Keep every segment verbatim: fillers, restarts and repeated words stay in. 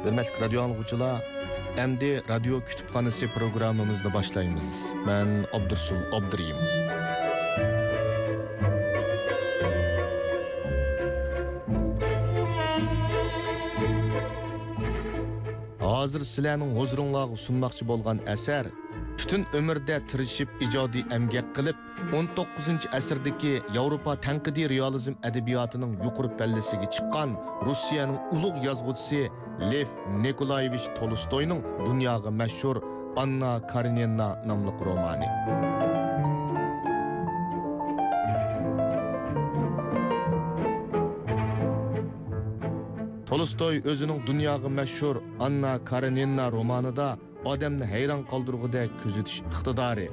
ھۆرمەتلىك رادىيو ئاڭلىغۇچىلار، ئەمدى رادىيو كۇتۇپخانىسى پروگراممىمىزنى باشلايمىز. مەن ئابدۇرسۇل ئابدۇرېھىم. ھازىر سىلەرنىڭ ھۇزۇرۇڭلارغا سۇنماقچى بولغان ئەسەر پۈتۈن ئۆمرىدە تىرىشىپ ئىجادىي ئەمگەك قىلىپ، ئون توققۇزىنچى ئەسىردىكى ياۋروپا تەنقىدىي رېئالىزم ئەدەبىياتىنىڭ يۇقىرى پەللىسىگە چىققان روسىيەنىڭ ئۇلۇغ يازغۇچىسى لېف نىكولايېۋىچ تولستوينىڭ دۇنياغا مەشھۇر ئاننا كارېنىنا ناملىق رومانى. تولستوي ئۆزىنىڭ دۇنياغا مەشھۇر ئاننا كارېنىنا رومانىدا ئادەمنى ھەيران قالدۇرغۇدەك كۆزىتىش ئىقتىدارى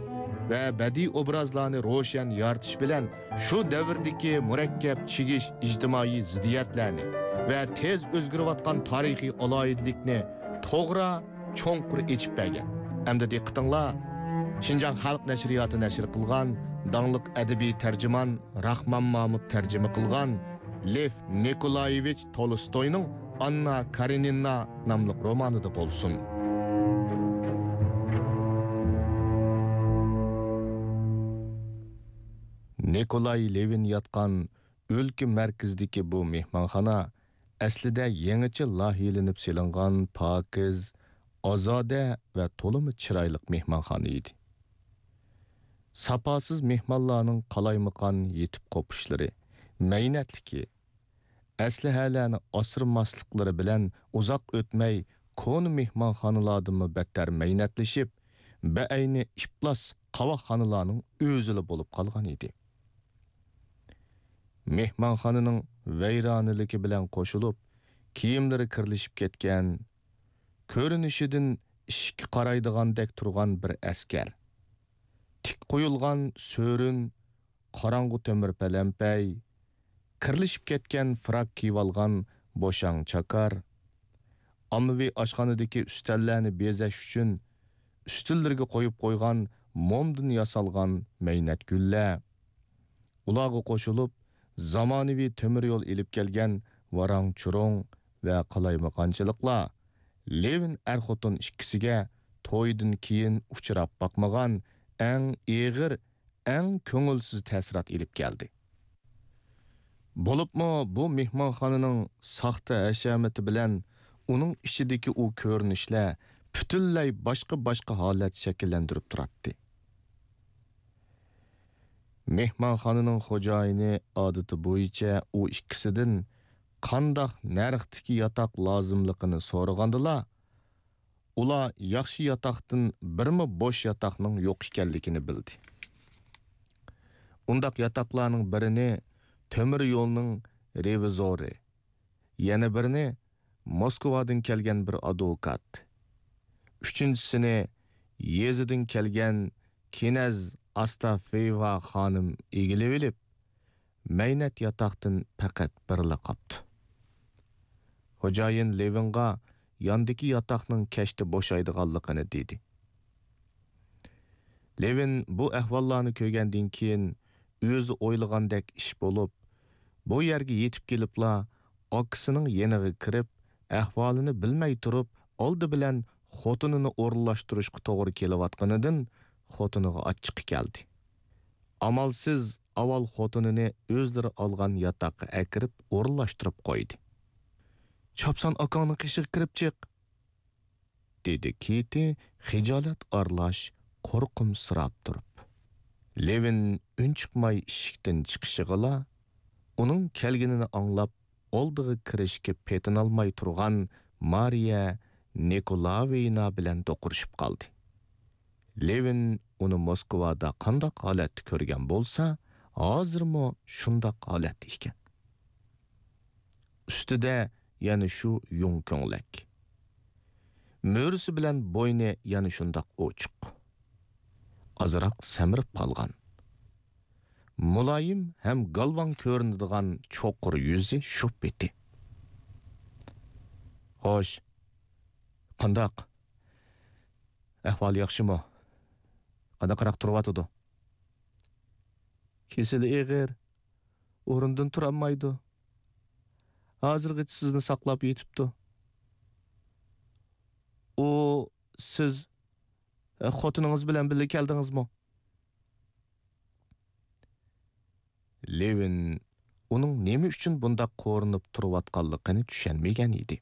ۋە بەدىئىي ئوبرازلارنى روشەن يارىتىش بىلەن شۇ دەۋردىكى مۇرەككەپ چىگىش ئىجتىمائىي زىددىيەتلەرنى ۋە تېز ئۆزگىرىۋاتقان تارىخىي ئالاھىدىلىكنى توغرا، چوڭقۇر ئېچىپ بەرگەن. ئەمدى دىققىتىڭلار شىنجاڭ خەلق نەشرىياتى نەشر قىلغان داڭلىق ئەدەبىي تەرجىمان راخمان مامۇت تەرجىمە قىلغان لېف نىكولايېۋىچ تولستوينىڭ ئاننا كارېنىنا ناملىق رومانىدا بولسۇن. نىكولاي لېۋىن ياتقان ئۆلكە مەركىزىدىكى بۇ مېھمانخانا ئەسلىدە يېڭىچە لايىھەلىنىپ سېلىنغان پاكىز، ئازادە ۋە تولىمۇ چىرايلىق مېھمانخانا ئىدى. ساپاسىز مېھمانلارنىڭ قالايمىقان يېتىپ قوپۇشلىرى، مەينەتلىكى، ئەسلىھەلەرنى ئاسرىماسلىقلىرى بىلەن ئۇزاق ئۆتمەي كونا مېھمانخانىلاردىنمۇ بەتتەر مەينەتلىشىپ، بەئەينى ئىپلاس قاۋاقخانىلارنىڭ ئۆزىلا بولۇپ قالغان ئىدى. مېھمانخانىنىڭ ۋەيرانىلىكى بىلەن قوشۇلۇپ، كىيىملىرى كىرلىشىپ كەتكەن، كۆرۈنۈشىدىن ئىشىككە قارايدىغاندەك تۇرغان بىر ئەسكەر، تىك قويۇلغان سۆرۈن، قاراڭغۇ تۆمۈر پەلەمپەي، كىرلىشىپ كەتكەن فراك كىيىۋالغان بوشاڭ چاكار، ئاممىۋى ئاشخانىدىكى ئۈستەللەرنى بېزەش ئۈچۈن ئۈستىلىرىگە قويۇپ قويغان مومدىن ياسالغان مەينەت گۈللەر، ئۇلارغا قوشۇلۇپ، زامانىۋى تۆمۈر يول ئېلىپ كەلگەن ۋاراڭ-چۇرۇڭ ۋە قالايمىقانچىلىقلار لېۋىن ئەر-خوتۇن ئىككىسىگە تويدىن كېيىن ئۇچراپ باقمىغان ئەڭ ئېغىر، ئەڭ كۆڭۈلسىز تەسىرات ئېلىپ كەلدى. بولۇپمۇ بۇ مېھمانخانىنىڭ ساختا ھەشەمىتى بىلەن ئۇنىڭ ئىچىدىكى ئۇ كۆرۈنۈشلەر پۈتۈنلەي باشقا-باشقا ھالەت شەكىللەندۈرۈپ تۇراتتى. مېھمانخانىنىڭ خوجايىنى ئادىتى بويىچە ئۇ ئىككىسىدىن قانداق نەرختىكى ياتاق لازىملىقىنى سورىغاندىلا، ئۇلار ياخشى ياتاقتىن بىرمۇ بوش ياتاقنىڭ يوق ئىكەنلىكىنى بىلدى. ئۇنداق ياتاقلارنىڭ بىرىنى تۆمۈر يولنىڭ رېۋىزورى، يەنە بىرىنى موسكۋادىن كەلگەن بىر ئادۋوكات، ئۈچىنچىسىنى يېزىدىن كەلگەن كىنەز ئاستافيېۋا خانىم ئىگىلىۋېلىپ، مەينەت ياتاقتىن پەقەت بىرلا قاپتۇ. خوجايىن لېۋىنغا ياندىكى ياتاقنىڭ كەچتە بوشايدىغانلىقىنى دېدى. لېۋىن بۇ ئەھۋاللارنى كۆرگەندىن كېيىن، ئۆزى ئويلىغاندەك ئىش بولۇپ، بۇ يەرگە يېتىپ كېلىپلا، ئاكىسىنىڭ يېنىغا كىرىپ، ئەھۋالىنى بىلمەي تۇرۇپ، ئالدى بىلەن خوتۇنىنى ئورۇنلاشتۇرۇشقا توغرا كېلىۋاتقىنىدىن خوتۇنىغا ئاچچىقى كەلدى. ئامالسىز ئاۋۋال خوتۇنىنى ئۆزلىرى ئالغان ياتاققا ئەكىرىپ ئورۇنلاشتۇرۇپ قويدى. «چاپسان ئاكاڭنىڭ قېشىغا كىرىپ چىق!» دېدى كېتى خىجالەت ئارىلاش قورقۇمسىراپ تۇرۇپ. لېۋىن ئۈنچىقماي ئىشىكتىن چىقىشىغىلا، ئۇنىڭ كەلگىنىنى ئاڭلاپ، ئالدىغا كىرىشكە پېتىنالماي تۇرغان مارىيە نىكولايېۋنا بىلەن دوقۇرۇشۇپ قالدى. لېۋىن ئۇنى موسكۋادا قانداق ھالەتتە كۆرگەن بولسا، ھازىرمۇ شۇنداق ھالەتتە ئىكەن. ئۈستىدە يەنە شۇ يۇڭ كۆڭلەك. مۈرىسى بىلەن بوينى يەنە شۇنداق ئوچۇق. ئازراق سەمرىپ قالغان. مۇلايىم ھەم گالۋاڭ كۆرۈنىدىغان چوقۇر يۈزى شۇ پېتى. «خوش، قانداق؟ ئەھۋالى ياخشىمۇ؟ قانداقراق تۇرۇۋاتىدۇ؟» «كېسىلى ئېغىر، ئورنىدىن تۇرالمايدۇ. ھازىرغىچە سىزنى ساقلاپ يېتىپتۇ.» ئۇ، سىز، ئە، خوتۇنىڭىز بىلەن بىللە كەلدىڭىزمۇ؟ لېۋىن ئۇنىڭ نېمە ئۈچۈن بۇنداق قورۇنۇپ تۇرۇۋاتقانلىقىنى چۈشەنمىگەن ئىدى.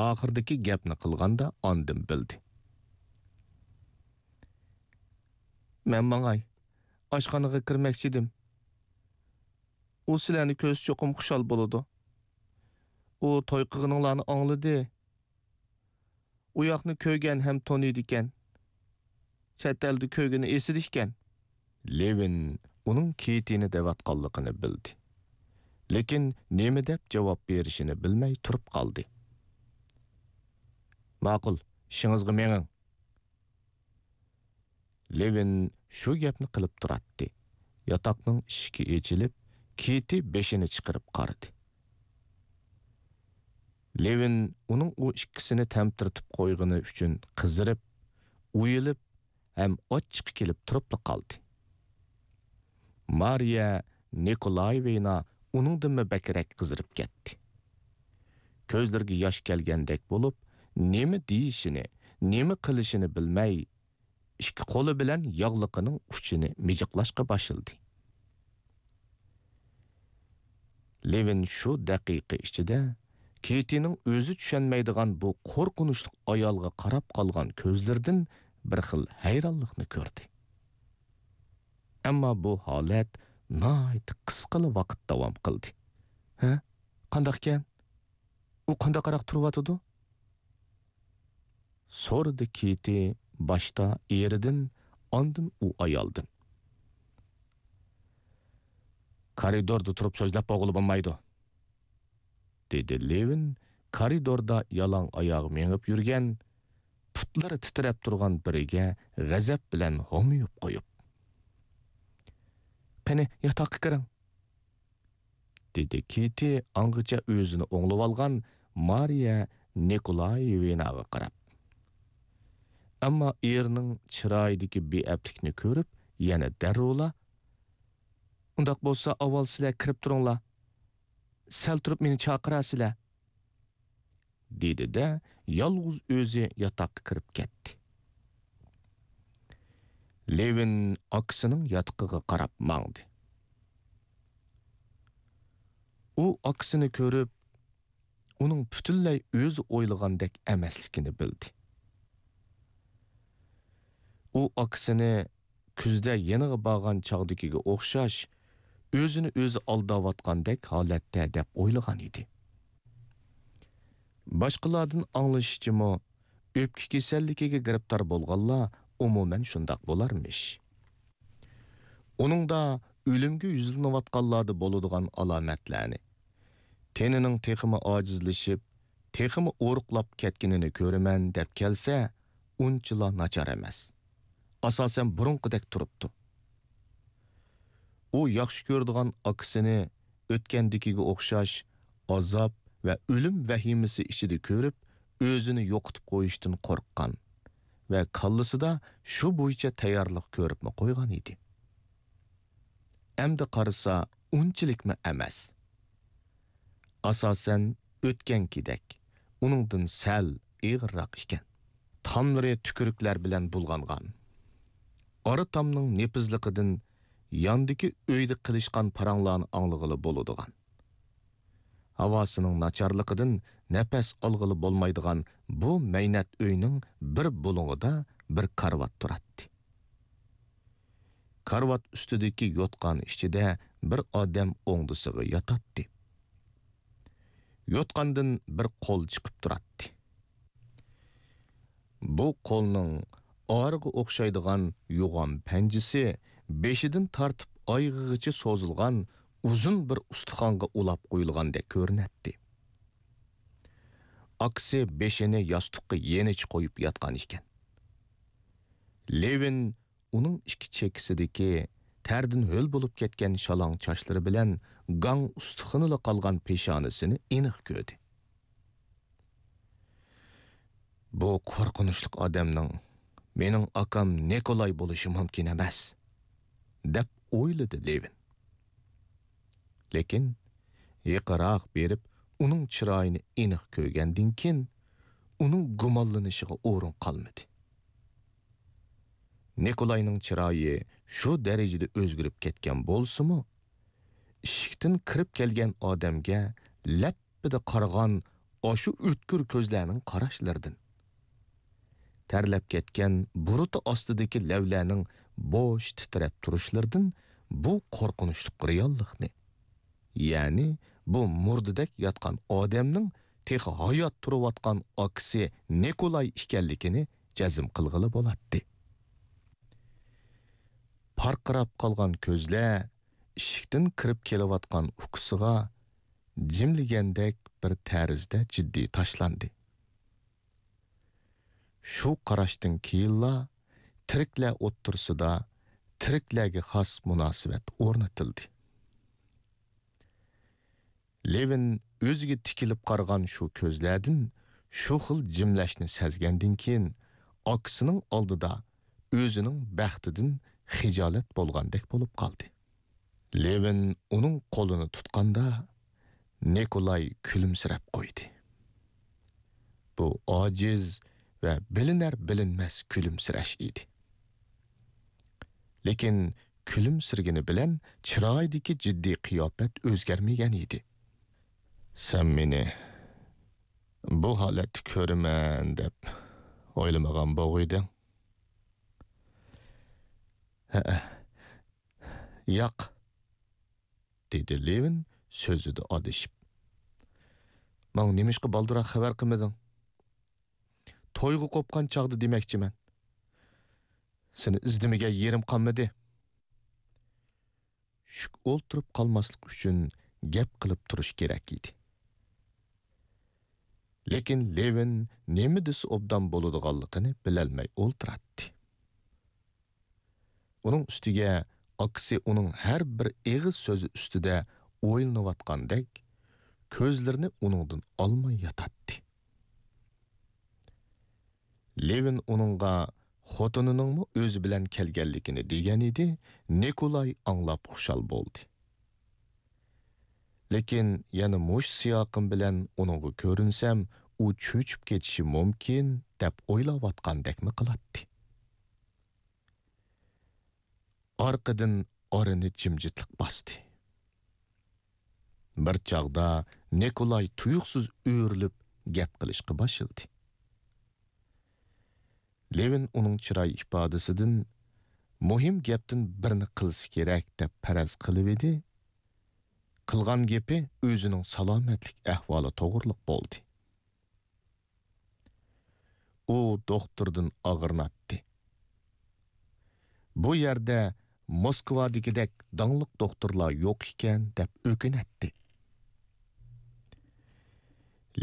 ئاخىرىدىكى گەپنى قىلغاندا ئاندىن بىلدى. مەن ماڭاي، ئاشخانىغا كىرمەكچىدىم. ئۇ سىلەرنى كۆرسە چوقۇم خۇشال بولىدۇ. ئۇ توي قىلغىنىڭلارنى ئاڭلىدى. ئۇ ياقنى كۆرگەن ھەم تونۇيدىكەن. چەت ئەلدە كۆرگىنى ئېسىدىكەن. لېۋىن ئۇنىڭ كېيتىنى دەۋاتقانلىقىنى بىلدى. لېكىن نېمە دەپ جاۋاب بېرىشىنى بىلمەي تۇرۇپ قالدى. ماقۇل، ئىشىڭىزغا مېڭىڭ. لېۋىن شۇ گەپنى قىلىپ تۇراتتى. ياتاقنىڭ ئىشىكى ئېچىلىپ، كېيتى بېشىنى چىقىرىپ قارىدى. لېۋىن ئۇنىڭ ئۇ ئىككىسىنى تەمتىرىتىپ قويغىنى ئۈچۈن قىزىرىپ، ئۇيىلىپ ھەم ئاچچىقى كېلىپ تۇرۇپلا قالدى. مارىيە نىكولايېۋنا ئۇنىڭدىنمۇ بەكرەك قىزىرىپ كەتتى. كۆزلىرىگە ياش كەلگەندەك بولۇپ، نېمە دېيىشىنى، نېمە قىلىشىنى بىلمەي، ئىككى قولى بىلەن ياغلىقىنىڭ ئۇچىنى مىجىقلاشقا باشلىدى. لېۋىن شۇ دەقىقە ئىچىدە كېيتىنىڭ ئۆزى چۈشەنمەيدىغان بۇ قورقۇنچلۇق ئايالغا قاراپ قالغان كۆزلىرىدىن بىر خىل ھەيرانلىقنى كۆردى. ئەمما بۇ ھالەت ناھايىتى قىسقىلا ۋاقىت داۋام قىلدى. ھە؟ قانداقكەن؟ ئۇ قانداقراق تۇرۇۋاتىدۇ؟ سورىدى كېيتى باشتا ئېرىدىن، ئاندىن ئۇ ئايالدىن. كارىدوردا تۇرۇپ سۆزلەپ بولغىلى بولمايدۇ، دېدى لېۋىن كارىدوردا يالاڭ ئاياغ مېڭىپ يۈرگەن، پۇتلىرى تىترەپ تۇرغان بىرىگە غەزەپ بىلەن ھومىيىپ قويۇپ. قېنى، ياتاققا كىرىڭ. دېدى كېيتى ئاڭغىچە ئۆزىنى ئوڭلىۋالغان مارىيە نىكولايېۋناغا قاراپ. ئەمما ئېرىنىڭ چىرايىدىكى بىئەپلىكنى كۆرۈپ، يەنە دەررۇلا، ئۇنداق بولسا، ئاۋۋال سىلەر كىرىپ تۇرۇڭلار. سەل تۇرۇپ مېنى چاقىرارسىلەر. دېدى-دە، يالغۇز ئۆزى ياتاققا كىرىپ كەتتى. لېۋىن ئاكىسىنىڭ ياتىقىغا قاراپ ماڭدى. ئۇ ئاكىسىنى كۆرۈپ، ئۇنىڭ پۈتۈنلەي ئۆزى ئويلىغاندەك ئەمەسلىكىنى بىلدى. ئۇ ئاكىسىنى كۈزدە يېنىغا بارغان چاغدىكىگە ئوخشاش، ئۆزىنى ئۆزى ئالداۋاتقاندەك ھالەتتە دەپ ئويلىغان ئىدى. باشقىلاردىن ئاڭلىشىچىمۇ، ئۆپكە كېسەللىكىگە گىرىپتار بولغانلار ئومۇمەن شۇنداق بولارمىش. ئۇنىڭدا ئۆلۈمگە يۈزلىنىۋاتقانلاردا بولىدىغان ئالامەتلەرنى، تېنىنىڭ تېخىمۇ ئاجىزلىشىپ، تېخىمۇ ئورۇقلاپ كەتكىنىنى كۆرىمەن دەپ كەلسە، ئۇنچىلا ناچار ئەمەس. ئاساسەن بۇرۇنقىدەك تۇرۇپتۇ. ئۇ ياخشى كۆرىدىغان ئاكىسىنى ئۆتكەندىكىگە ئوخشاش ئازاب ۋە ئۆلۈم ۋەھىمىسى ئىچىدە كۆرۈپ، ئۆزىنى يوقىتىپ قويۇشتىن قورققان ۋە كاللىسىدا شۇ بويىچە تەييارلىق كۆرۈپمۇ قويغان ئىدى. ئەمدى قارىسا، ئۇنچىلىكمۇ ئەمەس. ئاساسەن، ئۆتكەنكىدەك، ئۇنىڭدىن سەل ئېغىرراق ئىكەن. تاملىرى تۈكۈرۈكلەر بىلەن بۇلغانغان. ئارا تامنىڭ نېپىزلىقىدىن ياندىكى ئۆيدە قىلىشقان پاراڭلارنى ئاڭلىغىلى بولىدىغان. ھاۋاسىنىڭ ناچارلىقىدىن نەپەس ئالغىلى بولمايدىغان بۇ مەينەت ئۆينىڭ بىر بۇلۇڭىدا بىر كارىۋات تۇراتتى. كارىۋات ئۈستىدىكى يوتقان ئىچىدە بىر ئادەم ئوڭدىسىغا ياتاتتى. يوتقاندىن بىر قول چىقىپ تۇراتتى. بۇ قولنىڭ ئارىغا ئوخشايدىغان يوغان پەنجىسى بېشىدىن تارتىپ ئايىغىغىچە سوزۇلغان ئۇزۇن بىر ئۇستىخانغا ئۇلاپ قويۇلغاندەك كۆرۈنەتتى. ئاكىسى بېشىنى ياستۇققا يېنىچە قويۇپ ياتقان ئىكەن. لېۋىن ئۇنىڭ ئىككى چېكىسىدىكى تەردىن ھۆل بولۇپ كەتكەن شالاڭ چاچلىرى بىلەن گاڭ ئۇستىخىنىلا قالغان پېشانىسىنى ئېنىق كۆردى. بۇ قورقۇنچلۇق ئادەمنىڭ مېنىڭ ئاكام نىكولاي بولۇشى مۇمكىن ئەمەس، دەپ ئويلىدى لېۋىن. لېكىن يېقىنراق بېرىپ ئۇنىڭ چىرايىنى ئېنىق كۆرگەندىن كېيىن، ئۇنىڭ گۇمانلىنىشىغا ئورۇن قالمىدى. نىكولاينىڭ چىرايى شۇ دەرىجىدە ئۆزگىرىپ كەتكەن بولسىمۇ، ئىشىكتىن كىرىپ كەلگەن ئادەمگە لەپپىدە قارىغان ئاشۇ ئۆتكۈر كۆزلەرنىڭ قاراشلىرىدىن، تەرلەپ كەتكەن بۇرۇتى ئاستىدىكى لەۋلەرنىڭ بوش تىترەپ تۇرۇشلىرىدىن بۇ قورقۇنچلۇق رېئاللىقنى، يەنى بۇ مۇردىدەك ياتقان ئادەمنىڭ تېخى ھايات تۇرۇۋاتقان ئاكىسى نىكولاي ئىكەنلىكىنى جەزم قىلغىلى بولاتتى. پارقىراپ قالغان كۆزلەر ئىشىكتىن كىرىپ كېلىۋاتقان ئۇكىسىغا جىملىگەندەك بىر تەرزدە جىددىي تاشلاندى. شۇ قاراشتىن كېيىنلا تىرىكلەر ئوتتۇرىسىدا تىرىكلەرگە خاس مۇناسىۋەت ئورنىتىلدى. لېۋىن ئۆزىگە تىكىلىپ قارىغان شۇ كۆزلەردىن شۇ خىل جىملەشنى سەزگەندىن كېيىن، ئاكىسىنىڭ ئالدىدا ئۆزىنىڭ بەختىدىن خىجالەت بولغاندەك بولۇپ قالدى. لېۋىن ئۇنىڭ قولىنى تۇتقاندا، نىكولاي كۈلۈمسىرەپ قويدى. بۇ ئاجىز ۋە بىلىنەر-بىلىنمەس كۈلۈمسىرەش ئىدى. لېكىن كۈلۈمسىرىگىنى بىلەن چىرايىدىكى جىددىي قىياپەت ئۆزگەرمىگەن ئىدى. سەن مېنى بۇ ھالەتتە كۆرىمەن دەپ ئويلىمىغان بولغىيدىڭ؟ ھەئە، ياق، دېدى لېۋىن سۆزىدە ئادىشىپ. ماڭا نېمىشقا بالدۇرراق خەۋەر قىلمىدىڭ؟ تويغا قوپقان چاغدا دېمەكچىمەن. سېنى ئىزدىمىگەن يېرىم قالمىدى. شۈك ئولتۇرۇپ قالماسلىق ئۈچۈن گەپ قىلىپ تۇرۇش كېرەك ئىدى. لېكىن لېۋىن نېمە دېسە ئوبدان بولىدىغانلىقىنى بىلەلمەي ئولتۇراتتى. ئۇنىڭ ئۈستىگە ئاكىسى ئۇنىڭ ھەر بىر ئېغىز سۆزى ئۈستىدە ئويلىنىۋاتقاندەك، كۆزلىرىنى ئۇنىڭدىن ئالماي ياتاتتى. لېۋىن ئۇنىڭغا خوتۇنىنىڭمۇ ئۆزى بىلەن كەلگەنلىكىنى دېگەن ئىدى، نىكولاي ئاڭلاپ خۇشال بولدى. لېكىن يەنە مۇشۇ سىياقىم بىلەن ئۇنىڭغا كۆرۈنسەم، ئۇ چۆچۈپ كېتىشى مۇمكىن، دەپ ئويلاۋاتقاندەكمۇ قىلاتتى. ئارقىدىن ئارىنى جىمجىتلىق باستى. بىر چاغدا نىكولاي تۇيۇقسىز ئۆرۈلۈپ گەپ قىلىشقا باشلىدى. لېۋىن ئۇنىڭ چىراي ئىپادىسىدىن مۇھىم گەپتىن بىرنى قىلسا كېرەك دەپ پەرەز قىلىۋىدى. قىلغان گېپى ئۆزىنىڭ سالامەتلىك ئەھۋالى توغرىلىق بولدى. ئۇ دوختۇردىن ئاغرىناتتى. بۇ يەردە موسكۋادىكىدەك داڭلىق دوختۇرلار يوق ئىكەن، دەپ ئۆكۈنەتتى.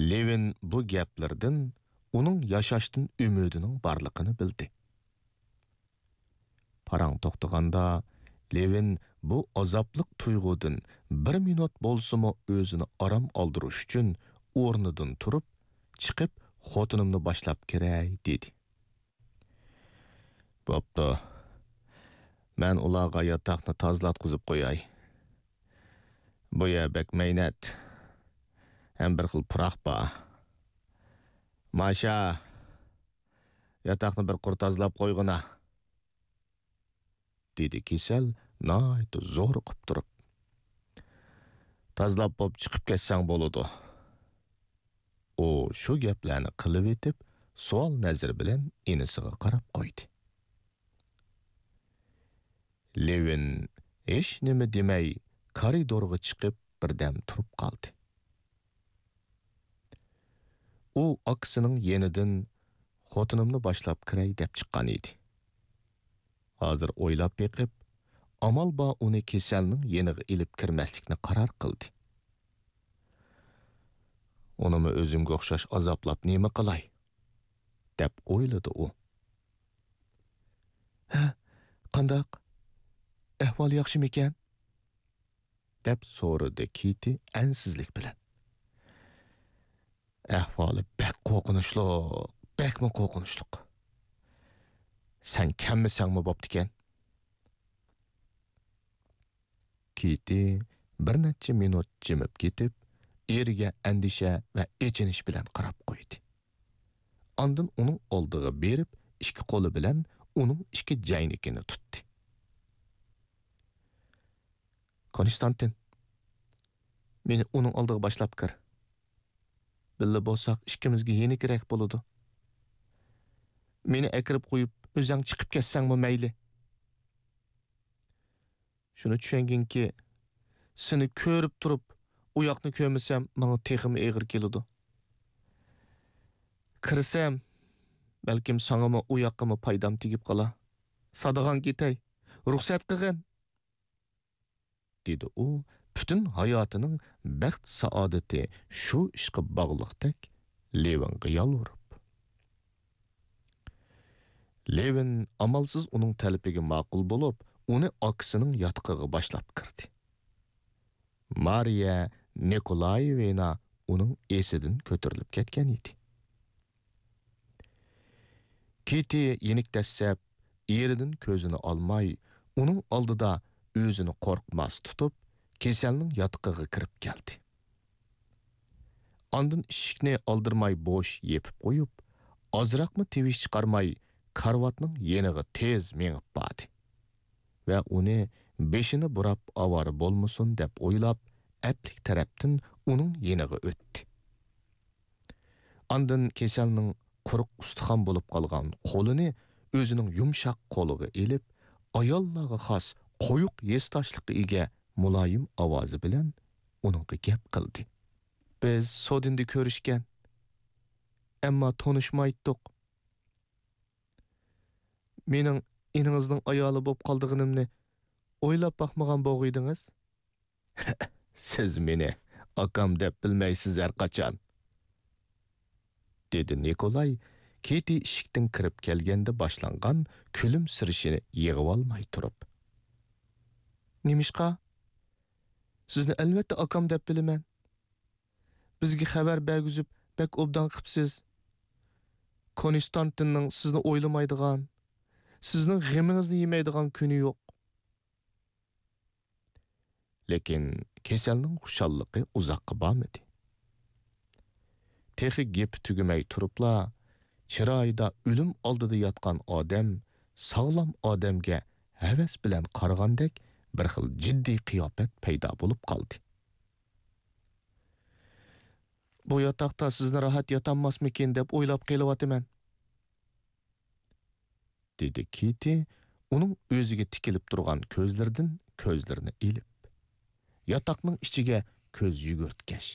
لېۋىن بۇ گەپلىرىدىن ئۇنىڭ ياشاشتىن ئۈمىدىنىڭ بارلىقىنى بىلدى. پاراڭ توختىغاندا، لېۋىن بۇ ئازابلىق تۇيغۇدىن بىر مىنۇت بولسىمۇ ئۆزىنى ئارام ئالدۇرۇش ئۈچۈن ئورنىدىن تۇرۇپ، چىقىپ، «خوتۇنۇمنى باشلاپ كىرەي» دېدى. بوپتۇ. مەن ئۇلارغا ياتاقنى تازىلاتقۇزۇپ قوياي. بۇ يەر بەك مەينەت. ھەم بىر خىل پۇراق بار. ماشا، ياتاقنى بىر قۇر تازىلاپ قويغىنا، دېدى كېسەل ناھايىتى زورۇقۇپ تۇرۇپ. تازىلاپ بوپ چىقىپ كەتسەڭ بولىدۇ. ئۇ شۇ گەپلەرنى قىلىۋېتىپ، سوئال نەزىرى بىلەن ئىنىسىغا قاراپ قويدى. لېۋىن ھېچنېمە دېمەي، كارىدورغا چىقىپ، بىردەم تۇرۇپ قالدى. ئۇ ئاكىسىنىڭ يېنىدىن «خوتۇنۇمنى باشلاپ كىرەي» دەپ چىققان ئىدى. ھازىر ئويلاپ بېقىپ، ئامال بار ئۇنى كېسەلنىڭ يېنىغا ئېلىپ كىرمەسلىكنى قارار قىلدى. «ئۇنىمۇ ئۆزۈمگە ئوخشاش ئازابلاپ نېمە قىلاي؟» دەپ ئويلىدى ئۇ. «ھە، قانداق؟ ئەھۋالى ياخشىمىكەن؟» دەپ سورىدى كىتى ئەنسىزلىك بىلەن. «ئەھۋالى بەك قورقۇنچلۇق، بەكمۇ قورقۇنچلۇق. سەن كەممىسەڭمۇ بوپتىكەن.» كىتى بىر نەچچە مىنۇت جىمىپ كېتىپ، ئېرىگە ئەندىشە ۋە ئېچىنىش بىلەن قاراپ قويدى. ئاندىن ئۇنىڭ ئالدىغا بېرىپ، ئىككى قولى بىلەن ئۇنىڭ ئىككى جەينىكىنى تۇتتى. كونستانتىن، مېنى ئۇنىڭ ئالدىغا باشلاپ كىر. بىللە بولساق، ئىككىمىزگە يېنىكرەك بولىدۇ. مېنى ئەكىرىپ قويۇپ، ئۆزەڭ چىقىپ كەتسەڭمۇ مەيلى. شۇنى چۈشەنگىنكى، سېنى كۆرۈپ تۇرۇپ، ئۇ ياقنى كۆرمىسەم، ماڭا تېخىمۇ ئېغىر كېلىدۇ. كىرسەم، بەلكىم ساڭىمۇ، ئۇ ياققىمۇ پايدام تېگىپ قالا. سادىغان كېتەي، رۇخسەت قىغىن! دېدى ئۇ، پۈتۈن ھاياتىنىڭ بەخت-سائادىتى شۇ ئىشقا باغلىقتەك لېۋىنغا يالۋۇرۇپ. لېۋىن ئامالسىز ئۇنىڭ تەلىپىگە ماقۇل بولۇپ، ئۇنى ئاكىسىنىڭ ياتىقىغا باشلاپ كىردى. مارىيە نىكولايېۋنا ئۇنىڭ ئېسىدىن كۆتۈرۈلۈپ كەتكەن ئىدى. كىتى يېنىك دەسسەپ، ئېرىدىن كۆزىنى ئالماي، ئۇنىڭ ئالدىدا ئۆزىنى قورقماس تۇتۇپ، كېسەلنىڭ ياتىقىغا كىرىپ كەلدى. ئاندىن ئىشىكنى ئالدىرىماي بوش يېپىپ قويۇپ، ئازراقمۇ تىۋىش چىقارماي، كارىۋاتنىڭ يېنىغا تېز مېڭىپ باردى ۋە ئۇنى بېشىنى بۇراپ ئاۋارە بولمىسۇن دەپ ئويلاپ، ئەپلىك تەرەپتىن ئۇنىڭ يېنىغا ئۆتتى. ئاندىن كېسەلنىڭ قۇرۇق ئۇستىخان بولۇپ قالغان قولىنى ئۆزىنىڭ يۇمشاق قولىغا ئېلىپ، ئاياللارغا خاس قويۇق ھېسداشلىققا ئىگە مۇلايىم ئاۋازى بىلەن ئۇنىڭغا گەپ قىلدى. بىز سودىندا كۆرۈشكەن، ئەمما تونۇشمايتتۇق. مېنىڭ ئىنىڭىزنىڭ ئايالى بولۇپ قالىدىغىنىمنى ئويلاپ باقمىغان بوغىيدىڭىز؟ سىز مېنى ئاكام دەپ بىلمەيسىز ھەرقاچان، دېدى نىكولاي كېتى ئىشىكتىن كىرىپ كەلگەندە باشلانغان كۈلۈمسىرىشىنى يىغىۋالماي تۇرۇپ. نېمىشقا؟ سىزنى ئەلۋەتتە ئاكام دەپ بىلىمەن. بىزگە خەۋەر بەرگۈزۈپ بەك ئوبدان قىپسىز. كونستانتىننىڭ سىزنى ئويلىمايدىغان، سىزنىڭ غېمىڭىزنى يېمەيدىغان كۈنى يوق. لېكىن كېسەلنىڭ خۇشاللىقى ئۇزاققا بارمىدى. تېخى گېپى تۈگىمەي تۇرۇپلا، چىرايىدا ئۆلۈم ئالدىدا ياتقان ئادەم ساغلام ئادەمگە ھەۋەس بىلەن قارىغاندەك بىر خىل جىددىي قىياپەت پەيدا بولۇپ قالدى. بۇ ياتاقتا سىزنى راھەت ياتالماسمىكىن دەپ ئويلاپ قېلىۋاتىمەن. دېدى كىتى ئۇنىڭ ئۆزىگە تىكىلىپ تۇرغان كۆزلىرىدىن كۆزلىرىنى ئېلىپ، ياتاقنىڭ ئىچىگە كۆز يۈگۈرتكەچ.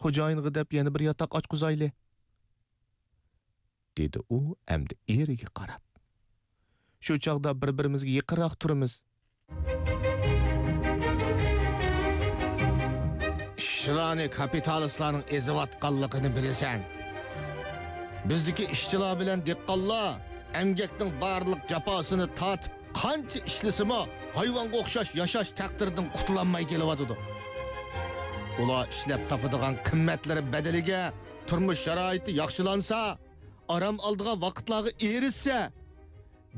خوجايىنغا دەپ يەنە بىر ياتاق ئاچقۇزايلى، دېدى ئۇ ئەمدى ئېرىگە قاراپ. شۇ چاغدا بىر-بىرىمىزگە يېقىنراق تۇرىمىز. ئىشچىلارنى كاپىتالىستلارنىڭ ئېزىۋاتقانلىقىنى بىلىسەن. بىزدىكى ئىشچىلار بىلەن دېھقانلار ئەمگەكنىڭ بارلىق جاپاسىنى تارتىپ، قانچە ئىشلىسىمۇ، ھايۋانغا ئوخشاش ياشاش تەقدىرىدىن قۇتۇلالماي كېلىۋاتىدۇ. ئۇلار ئىشلەپ تاپىدىغان قىممەتلىرى بەدىلىگە تۇرمۇش شارائىتى ياخشىلانسا، ئارام ئالىدىغان ۋاقىتلارغا ئېرىشسە،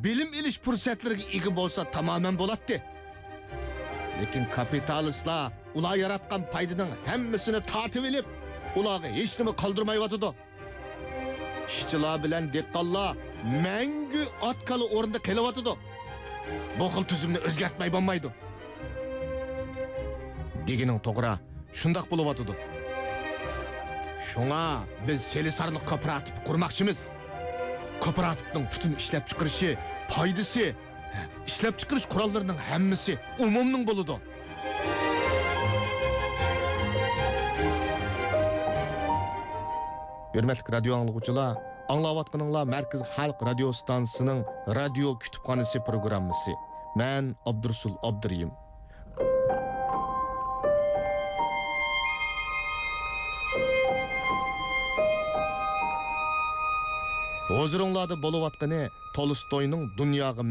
بىلىم ئېلىش پۇرسەتلىرىگە ئىگە بولسا تامامەن بولاتتى. لېكىن كاپىتالىستلار ئۇلار ياراتقان پايدىنىڭ ھەممىسىنى تارتىۋېلىپ، ئۇلارغا ھېچنېمە قالدۇرمايۋاتىدۇ. ئىشچىلار بىلەن دېھقانلار مەڭگۈ ئات-كالا ئورنىدا قېلىۋاتىدۇ. بۇ خىل تۈزۈمنى ئۆزگەرتمەي بولمايدۇ. دېگىنىڭ توغرا، شۇنداق بولۇۋاتىدۇ. شۇڭا بىز سېلىسارلىق كوپىراتىپ قۇرماقچىمىز. كوپىراتىپنىڭ پۈتۈن ئىشلەپچىقىرىشى، پايدىسى، ئىشلەپچىقىرىش قوراللىرىنىڭ ھەممىسى ئومۇمنىڭ بولىدۇ. ھۆرمەتلىك رادىيو ئاڭلىغۇچىلار، ئاڭلاۋاتقىنىڭلار مەركىزىي خەلق رادىيو ئىستانسىسىنىڭ رادىيو كۇتۇپخانىسى پروگراممىسى. مەن ئابدۇرۇسۇل ئابدۇرېھىم. ھۇزۇرۇڭلاردا بولۇۋاتقىنى تولستوينىڭ دۇنياغا